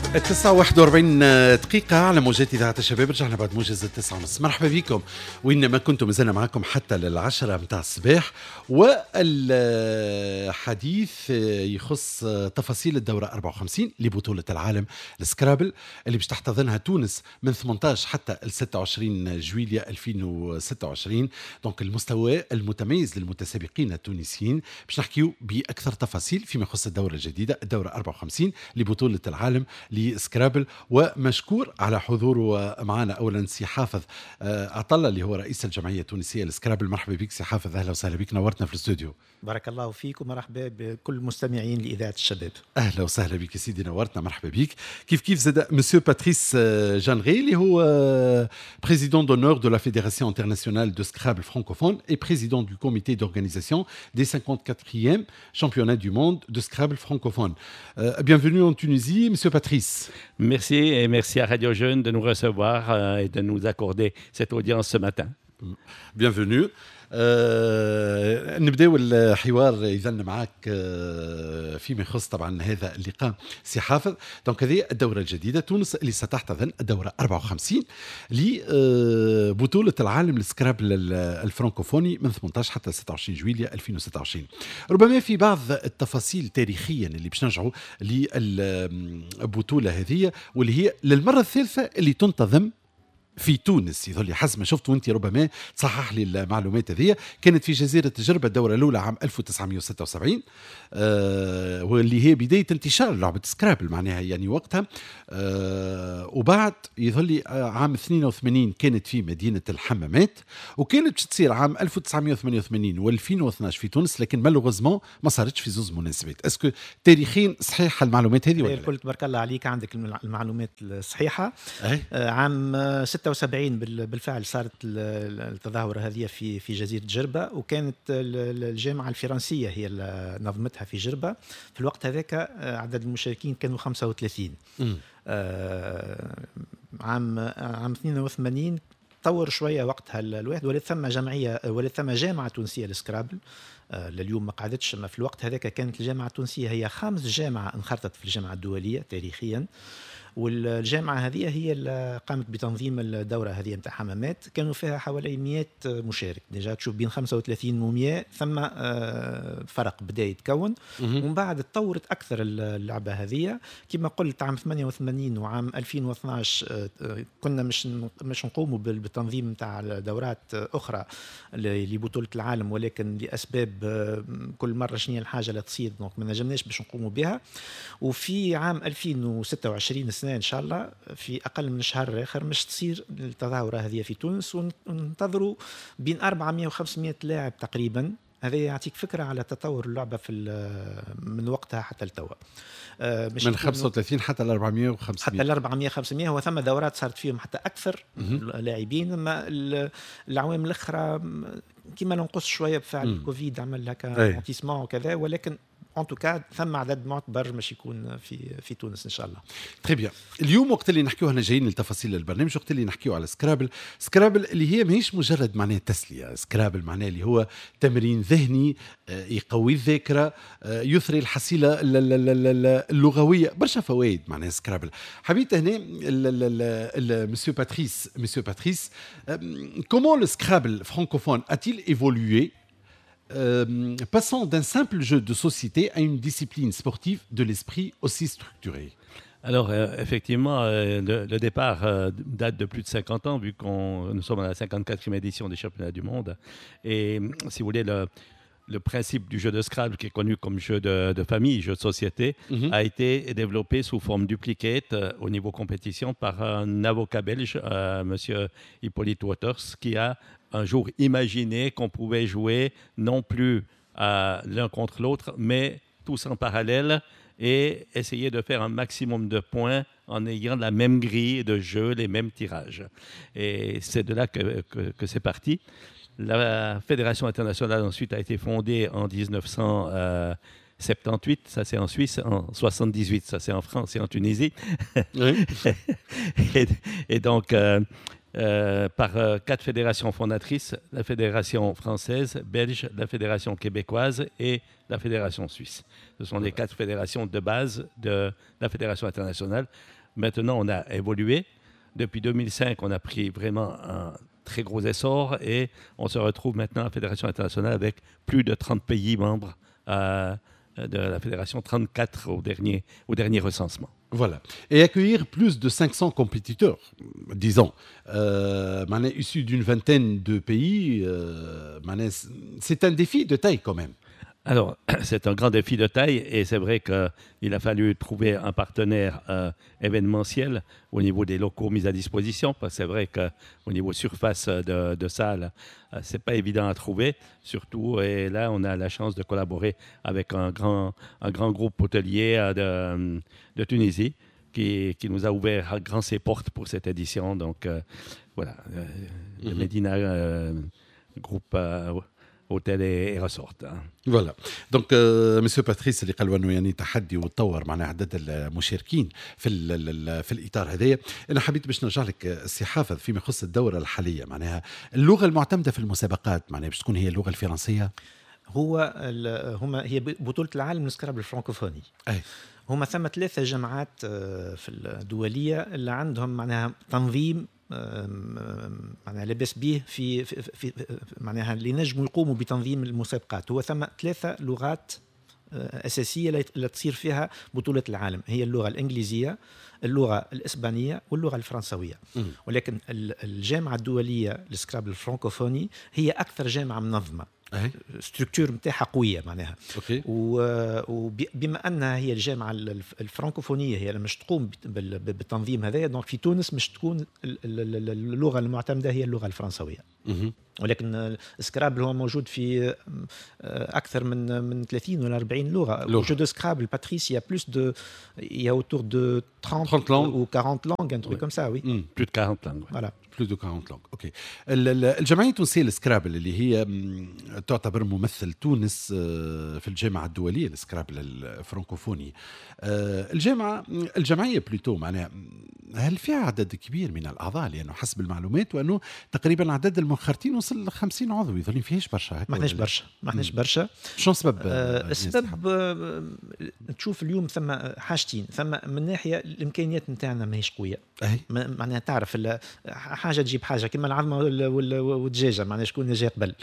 9:41 على موجات إذاعة الشباب. رجعنا بعد موجز 9:30. مرحبا بكم وين ما كنتم، مازلنا معكم حتى لل10 متاع الصباح، والحديث يخص تفاصيل الدورة 54 لبطولة العالم السكرابل اللي باش تحتضنها تونس من 18 حتى ال 26 جويلية 2026. donc المستوى المتميز للمتسابقين التونسيين، باش نحكيو بأكثر تفاصيل فيما يخص الدورة الجديدة، الدورة 54 لبطولة العالم لسكرابل. ومشكور على حضوره معنا اولا سي حافظ عطالله اللي هو رئيس الجمعية التونسية للسكرابل. مرحبا بك سي حافظ، اهلا وسهلا بك، نورتنا في الاستوديو. بارك الله فيك ومرحبا بكل المستمعين لاذاعة الشباب. اهلا وسهلا بك سيدي، نورتنا، مرحبا بك. كيف كيف زاد monsieur Patrice Jeanneret اللي هو président d'honneur de la Fédération internationale de Scrabble francophone et président du comité d'organisation des 54e championnats du monde de Scrabble francophone. Bienvenue en Tunisie, monsieur Patrice. Merci et merci à Radio Jeunes de nous recevoir et de nous accorder cette audience ce matin. Bienvenue. نبداو الحوار اذا معك فيما يخص طبعا هذا اللقاء سي حافظ. donc هذه الدورة الجديده، تونس اللي ستحتضن الدورة 54 لبطولة العالم للسكرابل الفرنكوفوني من 18 حتى 26 جويلية 2026. ربما في بعض التفاصيل تاريخيا اللي باش نرجعوا للبطولة هذه، واللي هي للمرة الثالثة اللي تنتظم في تونس، يظهر لي حسب ما شفت، وانت ربما تصحح لي المعلومات هذه. كانت في جزيرة جربه الدورة الاولى عام 1976، واللي هي بداية انتشار لعبه سكرابل معناها يعني وقتها. وبعد يظهر لي عام 82 كانت في مدينة الحمامات، وكانت باش تصير عام 1988 و2012 في تونس، لكن malheureusement ما صارتش في زوز مناسبات. est-ce que تاريخيا صحيح المعلومات هذه ولا؟ الكل تبارك الله عليك، عندك المعلومات الصحيحه. عام 76 بالفعل صارت التظاهرة هذه في جزيرة جربه، وكانت الجامعة الفرنسية هي اللي نظمتها في جربه. في الوقت هذاك عدد المشاركين كانوا 35. عام 82 طور شوية وقتها الواحد، ولات ثم جمعيه، ولات ثم جامعه تونسية للسكرابل. لليوم ما قعدتش، ما في الوقت هذاك كانت الجامعة التونسية هي خامس جامعه انخرطت في الجامعة الدولية تاريخيا، والجامعة هذه هي اللي قامت بتنظيم الدورة هذه نتاع حمامات. كانوا فيها حوالي 100 مشارك. déjà تشوف بين 35 و 100 ثم فرق بدا يتكون. ومن بعد تطورت اكثر اللعبة هذه كما قلت، عام 88 وعام 2012 كنا مش نقوموا بالتنظيم نتاع دورات اخرى لبطولة العالم، ولكن لاسباب كل مرة شنو الحاجة اللي تصير، donc ما نجمناش باش نقوموا بها. وفي عام 2026 سنة ان شاء الله، في اقل من شهر اخر، مش تصير التظاهرة هذه في تونس، وننتظروا بين 400 و 500 لاعب تقريبا. هذا يعطيك فكرة على تطور اللعبة في من وقتها حتى لتوا. من 35 حتى ل 400 و 500. حتى ل 400 500. هو ثم دورات صارت فيهم حتى اكثر لاعبين، اما العوام الاخرى كما نقص شوية بفعل الكوفيد، عمل هكا ralentissement وكذا، ولكن en tout cas ثم عدد معتبر مش يكون في تونس ان شاء الله. très bien. اليوم وقت اللي نحكيو، احنا جايين لتفاصيل البرنامج، وقت اللي نحكيو على سكرابل، سكرابل اللي هي ماهيش مجرد معناها تسليه، سكرابل معناها اللي هو تمرين ذهني يقوي الذاكره، يثري الحصيلة اللغويه، برشا فوائد معناها سكرابل. حبيت هنا monsieur Patrice, comment le Scrabble francophone a-t-il évolué, passant d'un simple jeu de société à une discipline sportive de l'esprit aussi structurée? Alors, effectivement, le départ date de plus de 50 ans, vu qu'on nous sommes à la 54e édition des championnats du monde. Et si vous voulez, le principe du jeu de Scrabble, qui est connu comme jeu de famille, jeu de société, a été développé sous forme duplicate au niveau compétition par un avocat belge, monsieur Hippolyte Waters, qui a un jour imaginé qu'on pouvait jouer non plus l'un contre l'autre, mais tous en parallèle et essayer de faire un maximum de points en ayant la même grille de jeu, les mêmes tirages. Et c'est de là que c'est parti. La Fédération internationale ensuite a été fondée en 1978, ça c'est en Suisse, en 78, ça c'est en France et en Tunisie. Et donc, par quatre fédérations fondatrices, la fédération française, belge, la fédération québécoise et la fédération suisse. Ce sont les quatre fédérations de base de la fédération internationale. Maintenant, on a évolué. Depuis 2005, on a pris vraiment un très gros essor et on se retrouve maintenant à la Fédération internationale avec plus de 30 pays membres de la Fédération, 34 au dernier recensement. Voilà. Et accueillir plus de 500 compétiteurs, disons, معناها issus d'une vingtaine de pays, معناها c'est un défi de taille quand même. Alors, c'est un grand défi de taille et c'est vrai qu'il a fallu trouver un partenaire événementiel au niveau des locaux mis à disposition, parce que c'est vrai qu'au niveau surface de salle, c'est pas évident à trouver, surtout. Et là, on a la chance de collaborer avec un grand groupe hôtelier de Tunisie qui nous a ouvert grand ses portes pour cette édition. Donc, voilà, le Medina groupe hôtel et resort. Voilà, donc monsieur باتريس اللي قالوا انه يعني تحدي وتطور معناها عدد المشاركين في الاطار هذايا. انا حبيت باش نرجع لك سي حافظ فيما يخص الدورة الحاليه، معناها اللغة المعتمدة في المسابقات معناها باش تكون هي اللغة الفرنسيه؟ هو هما هي بطوله العالم السكرابل الفرنكوفوني. هما ثم ثلاثة جامعات في الدولية اللي عندهم معناها تنظيم معناها لاباس به في معناها اللي نجموا يقوموا بتنظيم المسابقات. هو ثم ثلاثة لغات اساسية اللي تصير فيها بطوله العالم، هي اللغة الانجليزيه، اللغة الاسبانية واللغة الفرنسويه. ولكن الجامعة الدولية للسكرابل الفرنكوفوني هي اكثر جامعه منظمه، structure نتاعها قوية معناها. وبما انها هي الجامعة الفرنكوفونيه هي اللي مش تقوم بالتنظيم هذايا، donc في تونس مش تكون اللغة المعتمدة هي اللغة الفرنسويه. ولكن السكرابل هو موجود في اكثر من 30 ولا 40 لغه. jeu de Scrabble, Patrice, il y a plus de il y a autour de 30, 30 langues ou 40 langues, un truc comme ça, oui. Plus de 40 langues. Voilà. Plus de 40 langues, OK. الجمعية التونسية للسكرابل اللي هي تعتبر ممثل تونس في الجامعة الدولية للسكرابل الفرنكوفوني، الجمعية plutôt معناها هل فيها عدد كبير من الاعضاء؟ لانه حسب المعلومات وانه تقريبا عدد المنخرطين وصل ل 50 عضو، يظل فيهاش برشا. ما احناش برشا، ما احناش برشا. شنو السبب؟ السبب تشوف اليوم ثم حاجتين، ثم من ناحية الامكانيات نتاعنا ماهيش قويه. معناها تعرف حاجة تجيب حاجه، كما العظمة والدجاجه، معناها شكون جا قبل؟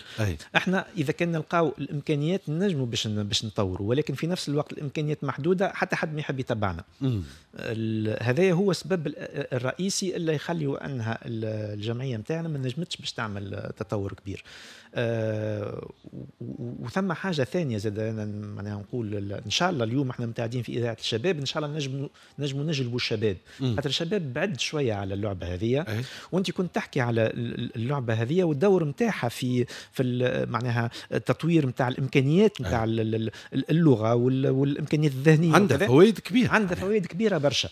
احنا اذا كان نلقاو الامكانيات نجموا باش نطوروا، ولكن في نفس الوقت الامكانيات محدوده، حتى حد ما يحب يتبعنا. هذا هو السبب الرئيسي اللي يخلي انها الجمعية نتاعنا ما نجمتش باش تعمل تطور كبير. وثم حاجة ثانية زاد، انا معناها نقول ان شاء الله اليوم احنا متعدين في اذاعة الشباب، ان شاء الله نجموا نجلبوا الشباب، خاطر الشباب بعد شوية على اللعبة هذه. وانت كنت تحكي على اللعبة هذه والدور نتاعها في معناها التطوير نتاع الامكانيات نتاع اللغة والامكانيات الذهنيه. عندها فوائد كبيره. عندها فوائد كبيرة برشا.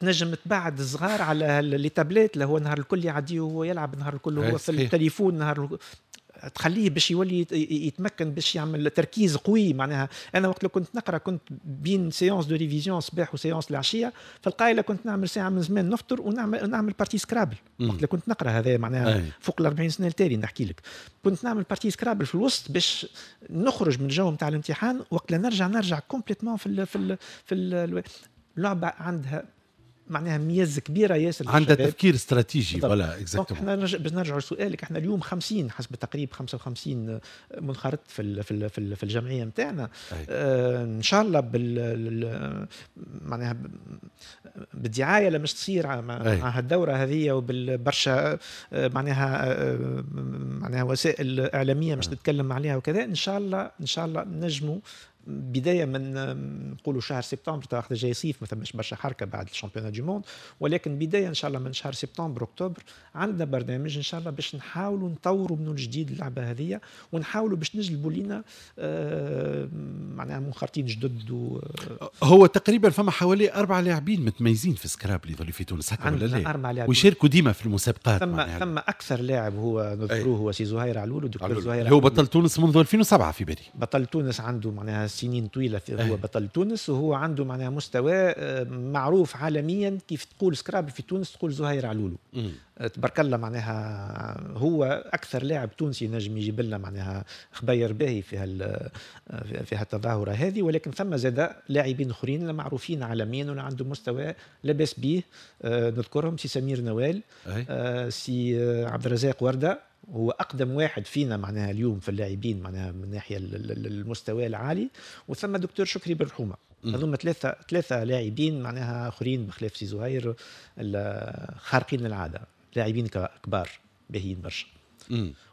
تنجم تبعد الصغار على les tablettes اللي هو النهار الكل يعديه وهو يلعب، نهار الكل هو في التليفون، نهار تخليه باش يولي يتمكن باش يعمل تركيز قوي. معناها انا وقت اللي كنت نقرا كنت بين séance de révision صباح و séance العشيه، في القايله كنت نعمل ساعة من زمان نفطر ونعمل partie Scrabble. وقت اللي كنت نقرا هذا معناها فوق ال 40 سنة التالي نحكي لك، كنت نعمل partie Scrabble في الوسط باش نخرج من الجو نتاع الامتحان، وقت اللي نرجع complètement في اللعبه. عندها معناها ميزة كبيرة ياسر. عندها تفكير استراتيجي، voilà. Exactement. احنا باش نرجعوا لسؤالك، احنا اليوم 50 حسب التقريب 55 منخرط في الجمعية نتاعنا. ان شاء الله بال معناها بالدعايه اللي مش تصير مع هالدوره هذه وبالبرشا معناها وسائل اعلامية مش تتكلم عليها وكذا، ان شاء الله ان شاء الله نجموا بداية من نقولوا شهر سبتمبر، تاخذ جاي صيف ما ثماش برشا حركة بعد ال championnat du monde، ولكن بداية ان شاء الله من شهر سبتمبر اكتوبر عندنا برنامج ان شاء الله باش نحاولوا نطوروا من جديد اللعبة هذه ونحاولوا باش نجلبوا لنا معناها منخرطين جدد. هو تقريبا فما حوالي اربع لاعبين متميزين في سكرابل اللي في تونس، هكا ولا لا؟ اربع لاعبين ويشاركوا ديما في المسابقات. ثم اكثر لاعب هو نذكروه هو سي زهير علولو، دكتور زهير. هو بطل تونس منذ 2007 في بالي. بطل تونس، عنده معناها سنين طويلة هو بطل تونس، وهو عنده معناها مستوى معروف عالميا. كيف تقول Scrabble في تونس تقول زهير علولو. تبارك الله، معناها هو اكثر لاعب تونسي نجم يجيب لنا معناها خبير باهي في هالتظاهره هذه. ولكن ثم زاد لاعبين اخرين معروفين عالميا ولا عندهم مستوى لاباس به، نذكرهم سي سمير نوال، سي عبد الرزاق ورده، هو اقدم واحد فينا معناها اليوم في اللاعبين معناها من ناحية المستوى العالي، وثم دكتور شكري بالرحومه. هذوما ثلاثه لاعبين معناها اخرين بخلاف سي زهير خارقين للعاده، لاعبين كبار باهيين برشا.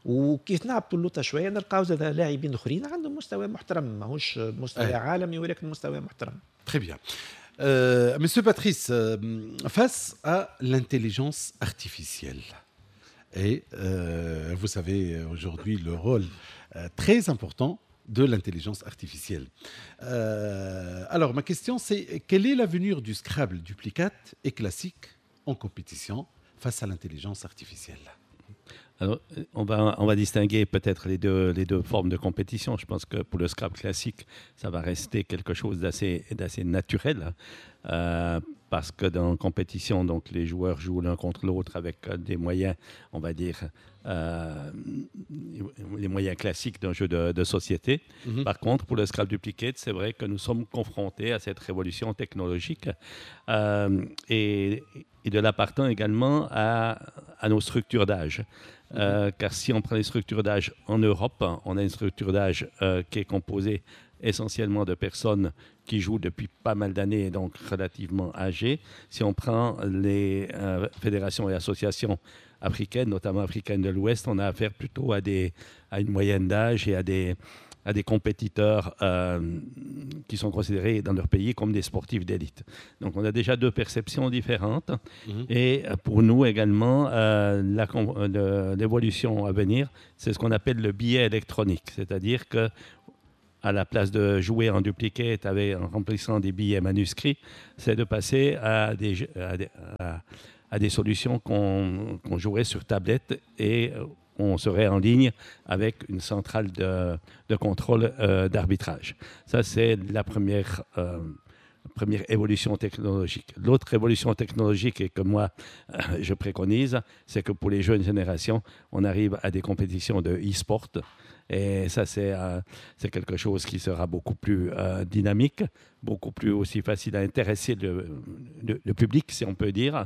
وكيف نهبطوا اللوطه شوية نلقاو زاد لاعبين اخرين عندهم مستوى محترم، ماهوش مستوى عالمي ولكن مستوى محترم. Très bien. Monsieur Patrice, face à l'intelligence artificielle, et vous savez aujourd'hui le rôle très important de l'intelligence artificielle. Alors, ma question, c'est quel est l'avenir du Scrabble duplicate et classique en compétition face à l'intelligence artificielle? Alors, on va distinguer peut-être les deux formes de compétition. Je pense que pour le Scrabble classique, ça va rester quelque chose d'assez naturel, parce que dans la compétition, donc, les joueurs jouent l'un contre l'autre avec des moyens, on va dire, les moyens classiques d'un jeu de société. Par contre, pour le Scrabble duplicate, c'est vrai que nous sommes confrontés à cette révolution technologique et de là partant également à nos structures d'âge. Car si on prend les structures d'âge en Europe, on a une structure d'âge qui est composée essentiellement de personnes qui jouent depuis pas mal d'années et donc relativement âgées. Si on prend les fédérations et associations africaines, notamment africaines de l'Ouest, on a affaire plutôt à une moyenne d'âge et à des compétiteurs qui sont considérés dans leur pays comme des sportifs d'élite. Donc on a déjà deux perceptions différentes. Et pour nous également, l'évolution à venir, c'est ce qu'on appelle le billet électronique. C'est-à-dire que à la place de jouer en duplicate en remplissant des billets manuscrits, c'est de passer à des solutions qu'on jouerait sur tablette et on serait en ligne avec une centrale de contrôle d'arbitrage. Ça, c'est la première évolution technologique. L'autre évolution technologique et que moi, je préconise, c'est que pour les jeunes générations, on arrive à des compétitions de e-sport. Et ça, c'est quelque chose qui sera beaucoup plus dynamique, beaucoup plus aussi facile à intéresser le public, si on peut dire,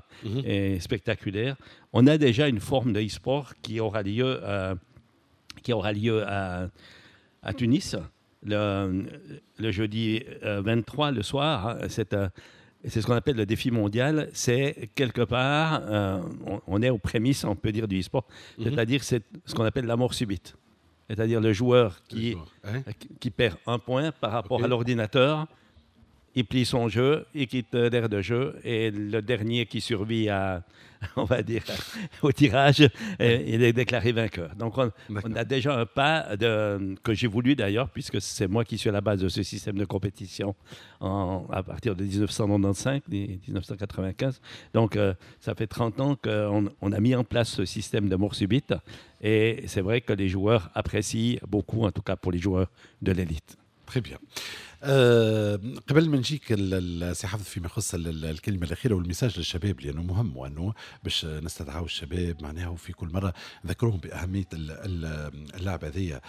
et spectaculaire. On a déjà une forme de e-sport qui aura lieu à Tunis le jeudi 23 le soir. Hein, c'est ce qu'on appelle le défi mondial. C'est quelque part, on est aux prémices, on peut dire, du e-sport, c'est-à-dire c'est ce qu'on appelle la mort subite. C'est-à-dire le joueur Le joueur, hein. qui perd un point par rapport à l'ordinateur, il plie son jeu, il quitte l'aire de jeu, et le dernier qui survit on va dire, au tirage, il est déclaré vainqueur. Donc on a déjà un pas que j'ai voulu d'ailleurs, puisque c'est moi qui suis à la base de ce système de compétition à partir de 1995, 1995. Donc ça fait 30 ans qu'on on a mis en place ce système de mort subite, et c'est vrai que les joueurs apprécient beaucoup, en tout cas pour les joueurs de l'élite. Très bien. قبل ما نجيك سي حافظ فيما يخص الكلمة الاخيرة وال message للشباب، لانه مهم وانه باش نستدعوا الشباب معناها وفي كل مرة نذكرهم باهمية اللعبة هذه.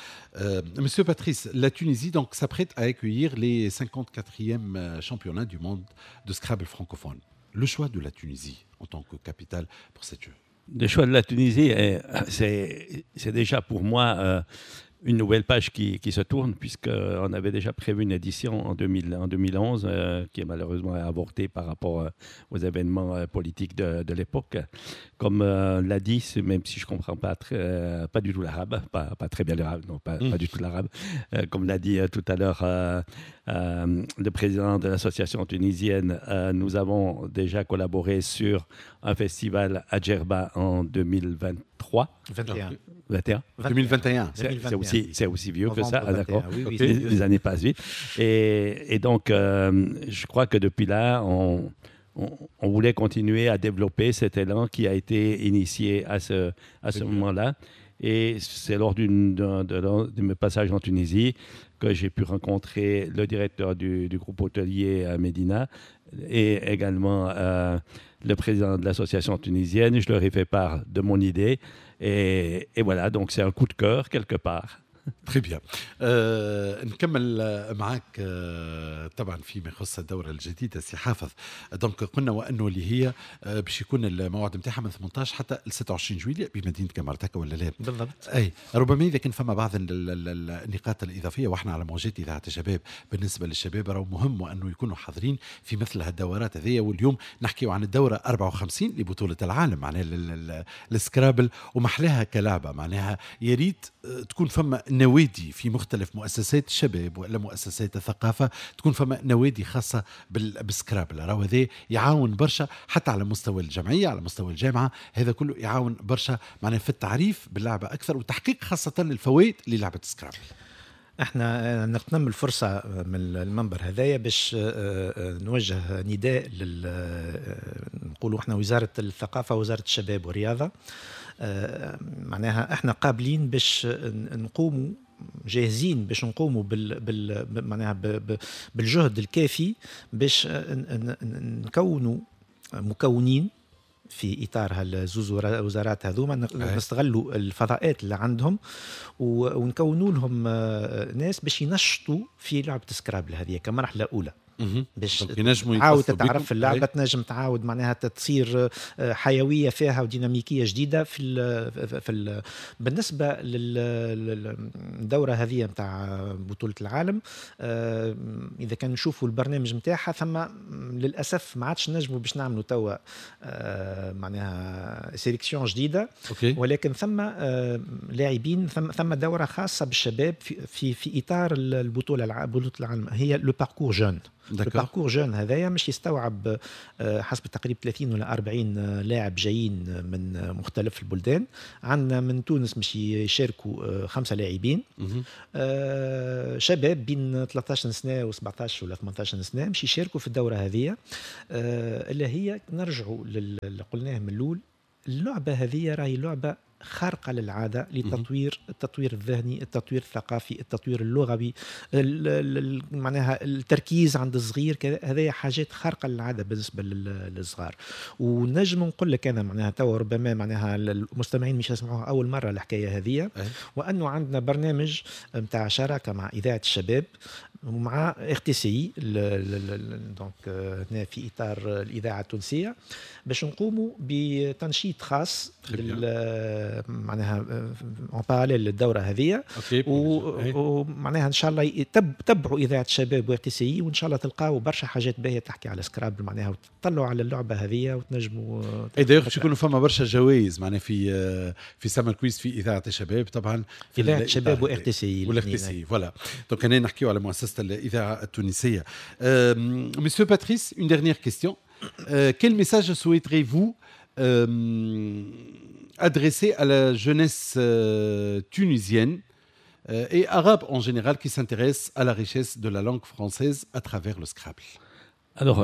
Monsieur Patrice, la Tunisie donc s'apprête à accueillir les 54e championnats du monde de Scrabble francophone. Le choix de la Tunisie en tant que capitale pour cette jeu? Le choix de la Tunisie, c'est déjà pour moi une nouvelle page qui se tourne, puisqu'on avait déjà prévu une édition en 2011, qui est malheureusement avortée par rapport aux événements politiques de l'époque. Comme l'a dit, même si je ne comprends pas du tout l'arabe, pas très bien l'arabe, non, pas du tout l'arabe, comme l'a dit tout à l'heure le président de l'association tunisienne, nous avons déjà collaboré sur un festival à Djerba en 2023. 21. 21. 2021. C'est aussi vieux que ça. Novembre Ah, d'accord. 21, oui, Les c'est vieux. Années passent vite. Et donc, je crois que depuis là, on voulait continuer à développer cet élan qui a été initié à ce moment-là. Et c'est lors de mes passages en Tunisie que j'ai pu rencontrer le directeur du groupe hôtelier à Médina et également le président de l'association tunisienne. Je leur ai fait part de mon idée. Et voilà, donc c'est un coup de cœur quelque part. Très bien. نكمل معك طبعا فيما يخص الدورة الجديدة سي حافظ. donc قلنا وانه اللي هي باش يكون الموعد نتاعها من 18 حتى ل 26 جويلية بمدينة قمرت، هكا ولا لا؟ بالضبط. اي، ربما اذا كان فما بعض النقاط الاضافيه، واحنا على موجات اذاعة الشباب، بالنسبة للشباب راهو مهم وانه يكونوا حاضرين في مثل هالدورات هذيا. واليوم نحكيو عن الدورة 54 لبطولة العالم معناها السكرابل، ومحلاها كلعبه. معناها يا ريت تكون فما نوادي في مختلف مؤسسات الشباب والا مؤسسات الثقافه، تكون فما نوادي خاصة بالسكرابل. راهو هذا يعاون برشا حتى على مستوى الجمعيه، على مستوى الجامعه، هذا كله يعاون برشا معناها في التعريف باللعبة اكثر وتحقيق خاصة الفوائد للعبة السكرابل. احنا نغتنم الفرصة من المنبر هذايا باش نوجه نداء لل نقولوا احنا وزارة الثقافة، وزارة الشباب والرياضه. معناها احنا قابلين باش نقوموا، جاهزين باش نقوموا بال معناها بالجهد الكافي باش نكونوا مكونين في اطار هالزوز وزارات هذوما، نستغلوا الفضاءات اللي عندهم ونكونوا لهم ناس باش ينشطوا في لعبه سكرابل هذه كمرحلة اولى، باش تعاود تتعرف في اللعبه، تنجم تعاود معناها تصير حيوية فيها وديناميكيه جديدة في ال بالنسبة للدورة هذه نتاع بطوله العالم. اذا كان نشوفوا البرنامج نتاعها، ثم للاسف ما عادش نجموا باش نعملوا توا معناها sélection جديده، ولكن ثم لاعبين، ثم دوره خاصة بالشباب في اطار البطوله، بطوله العالم، هي le parcours jeune. ال parcours jeune هذايا مش يستوعب حسب تقريب 30 ولا 40 لاعب جايين من مختلف البلدان. عندنا من تونس مش يشاركوا خمسة لاعبين شباب بين 13 سنة و17 ولا 18 سنه، مش يشاركوا في الدورة هذه اللي هي نرجعوا للي قلناه من الاول، اللعبة هذه راهي لعبه خارقة للعادة لتطوير التطوير الذهني، التطوير الثقافي، التطوير اللغوي، معناها التركيز عند الصغير. هذه حاجات خارقة للعادة بالنسبة للصغار. ونجم نقول لك انا معناها توا ربما معناها المستمعين مش يسمعوها اول مرة الحكاية هذه، وانه عندنا برنامج نتاع شراكة مع اذاعة الشباب ومع RTCI، donc هنا في اطار الاذاعة التونسيه، باش نقوموا بتنشيط خاص معناها en parallèle للدورة هذه، ومعناها ان شاء الله تبعوا اذاعة الشباب و RTCI، وان شاء الله تلقاو برشا حاجات باهيه تحكي على سكرابل معناها، وتطلعوا على اللعبة هذه وتنجموا. اي، d'ailleurs باش يكونوا فما برشا جوائز معناها في summer quiz في اذاعة الشباب طبعا. في اذاعة الشباب و RTCI. وال RTCI، voilà. donc هنا نحكيو على مؤسسة الاذاعة التونسيه. Monsieur Patrice, une dernière question. Quel message souhaiterez-vous adresser à la jeunesse tunisienne et arabe en général qui s'intéresse à la richesse de la langue française à travers le Scrabble? Alors,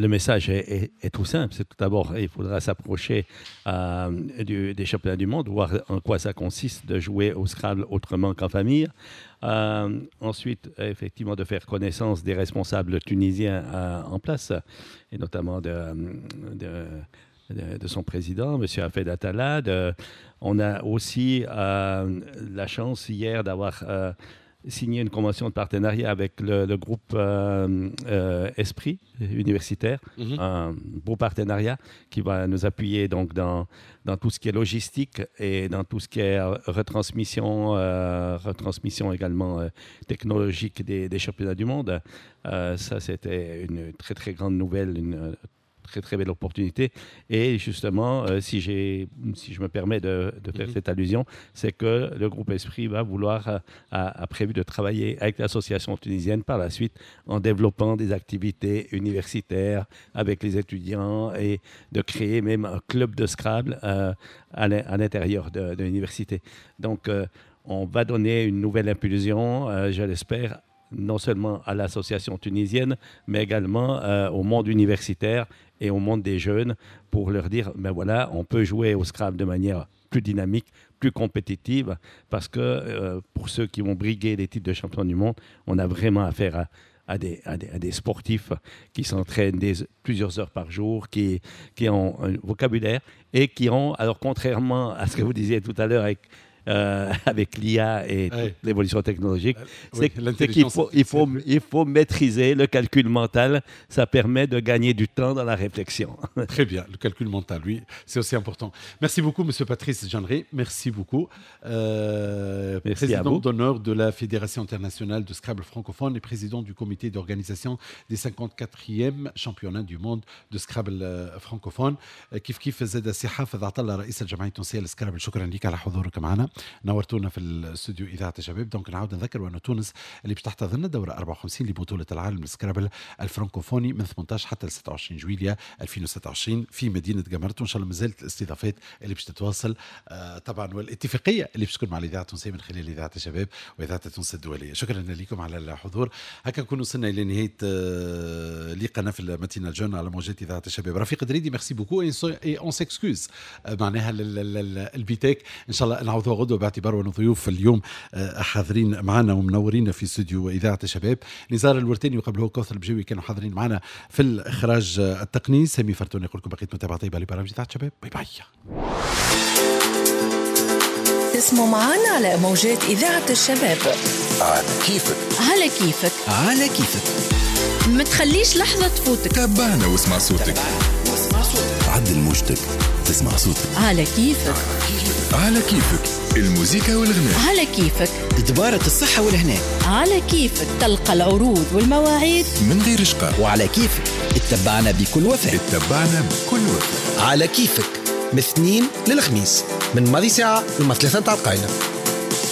le message est tout simple. C'est tout d'abord, il faudra s'approcher des championnats du monde, voir en quoi ça consiste de jouer au Scrabble autrement qu'en famille. Ensuite, effectivement, de faire connaissance des responsables tunisiens en place, et notamment de son président, M. Hafedh Atallah. On a aussi la chance hier d'avoir signé une convention de partenariat avec le groupe Esprit universitaire, un beau partenariat qui va nous appuyer donc dans tout ce qui est logistique et dans tout ce qui est retransmission, retransmission également technologique des championnats du monde. Ça, c'était une très très grande nouvelle, une très très belle opportunité. Et justement, si je me permets de faire cette allusion, c'est que le groupe Esprit va vouloir, a prévu de travailler avec l'association tunisienne par la suite en développant des activités universitaires avec les étudiants et de créer même un club de Scrabble à l'intérieur de l'université. Donc, on va donner une nouvelle impulsion, je l'espère, non seulement à l'association tunisienne, mais également au monde universitaire et au monde des jeunes pour leur dire, ben voilà, on peut jouer au Scrabble de manière plus dynamique, plus plus compétitive parce que pour ceux qui vont briguer les titres de champion du monde, on a vraiment affaire à des sportifs qui s'entraînent plusieurs heures par jour, qui ont un vocabulaire et qui ont, alors contrairement à ce que vous disiez tout à l'heure avec l'IA et l'évolution technologique, c'est qu'il faut maîtriser le calcul mental. Ça permet de gagner du temps dans la réflexion. Très bien, le calcul mental, oui, c'est aussi important. Merci beaucoup, Monsieur Patrice Jeanneret. Merci beaucoup. Merci président d'honneur de la Fédération internationale de Scrabble francophone et président du comité d'organisation des 54e championnats du monde de Scrabble francophone. كيف كيف زاد سي حافظ عطله رئيس الجمعية التونسية للسكرابل، شكرا لك على حضورك معنا، نورتونا في الاستوديو اذاعة الشباب. donc نعاود نذكر أن تونس اللي باش تحتضن الدورة 54 لبطولة العالم للسكرابل الفرنكوفوني من 18 حتى 26 جويليا 2026 في مدينة قمرت، وان شاء الله مازالت الاستضافات اللي باش تتواصل طبعا، والاتفاقيه اللي باش تكون مع الاذاعة التونسية من خلال اذاعة الشباب واذاعة تونس الدولية. شكرا لكم على الحضور. هكا نكون وصلنا الى نهاية لقاءنا في ال matinale jeune على موجات اذاعة الشباب. رفيق دريدي merci beaucoup et on s'excuse معناها البيتك، ان شاء الله نعوضوها غدوه باعتبار أن ضيوف اليوم حاضرين معنا ومنورين في استوديو اذاعة الشباب. نزار الورتاني وقبله كوثر البجاوي كانوا حاضرين معنا في الاخراج التقني. سامي فرتون يقول لكم بقيت متابعه طيبة لبرامج اذاعة الشباب. bye bye. تسمعوا معنا على موجات اذاعة الشباب. على كيفك، على كيفك، على كيفك، ما تخليش لحظة تفوتك. تابعنا واسمع صوتك، عدل موجتك تسمع صوتك. على كيفك، على كيفك، الموسيقى والغناء. على كيفك، دبارة الصحة والهناء. على كيفك، تلقى العروض والمواعيد من غير شقاء. وعلى كيفك اتبعنا بكل وفاء، اتبعنا بكل وفاء. على كيفك من الاثنين للخميس من ماضي ساعة لما 3 تاع القايلة.